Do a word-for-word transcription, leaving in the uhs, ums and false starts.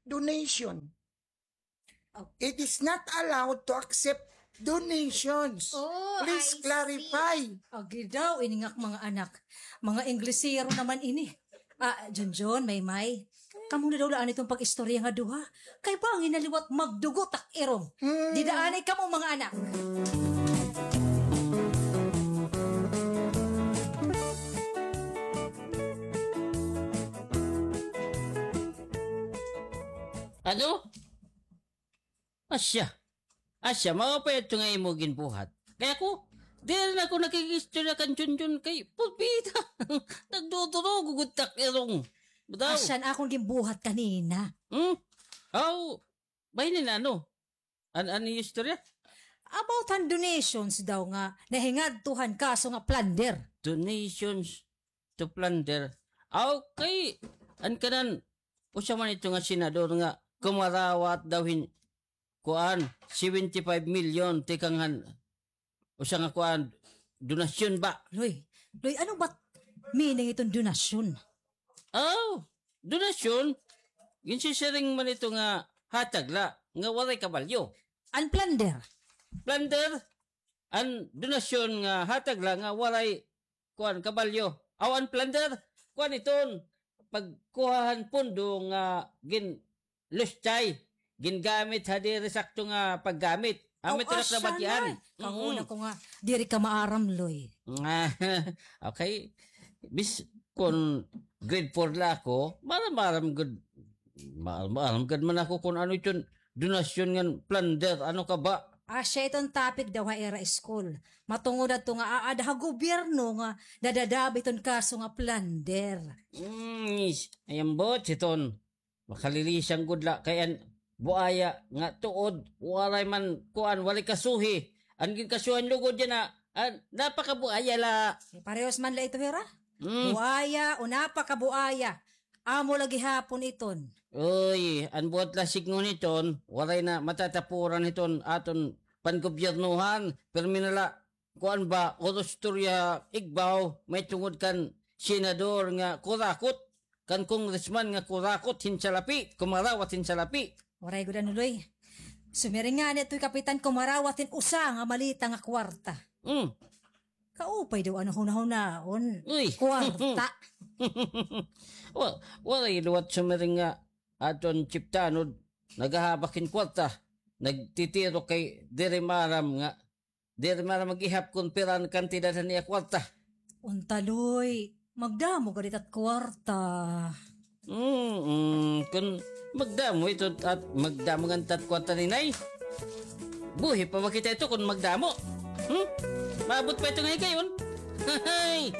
donation. Oh. It is not allowed to accept donations. Oh, please clarify. Agi daw, ini nga mga anak. Mga Inglesero naman ini. Ah, Junjun, Maymay. Kamo na daw la anay iton pag-istorya nga duha. Kay bangin na liwat magdugo tak irong. Hmm. Dida anay kamo, mga anak. Ano? Asya. Asya, mao pa ito nga imo ginbuhat. Kay ako, diri na ako nakig-istorya kan Junjun kay pulbida. Nagdudurog gud tak irong. Bitaw. Asya an akon ginbuhat kanina. Hmm? Aw, bahin na ano? An, an istorya? About han donations daw nga nahingadto han kaso nga plunder. Donations to plunder. Aw, kay an kanan, usa man ito nga senador nga kumarawat daw hin, kuan, seventy-five million tikang han usa nga kuan, donasyon ba? Loy, Loy, ano ba meaning iton donasyon? Aw, donasyon, ginsisiring man ito nga hatag la, nga waray kabalyo. An plunder? Plunder, an donasyon nga hatag la nga waray kuan, kabalyo. Aw, an plunder, kuan iton, pagkuha han pondo nga ginlustay, gingamit ha diri sakto nga paggamit. Amo ito na kabatian. Kanguna ko nga, diri ka maaram, Loy. Okay. Bis, kon grade four la ako, maaram-aram gud, maaram-aram gud man ako kon ano iton donasyon ngan plunder, ano ka ba? Asya iton topic daw ha ira school. Matungod adto nga aada ha gobyerno nga nadadaba iton kaso nga plunder. Mm, ayambot siton. Makalilisan gud la kay an buaya nga tuod, waray man kuan, waray kasuhi. An ginkasuhan lugod yana, an napakabuaya la. Parehos man la ito hira. Mm. Buaya o napakabuaya. Amo la gihapon iton. Uy, an buot la sidngon hiton, waray na matatapuran hiton aton pangobyernohan, pirmi na la, kuan ba, uros istorya igbaw, mahitungod kan senador nga kurakot, kan congressman nga kurakot hin salapi, kumarawat hin salapi. Waray gud ano, Loy. Sumiring ngani itoy kapitan, kumarawat hin usa nga malita nga kwarta. Mm. Kaupay daw ano hunahunaon. Uy. Kwarta. Wa-, waray liwat sumiring nga aton Chief Tanod nagahabak hin kwarta. Nagtitiro kay diri maaram nga, diri maaram mag-ihap kon pira an kantidad han iya kwarta. Unta, Loy, magdamo gad it at kwarta. Mm, mm, kon magdamo ito at magdamo ngani it at kwarta, Ninay. Buhi pa ba kita ito kon magdamo? Hmm? Maabot pa ito nga higayon? Hay!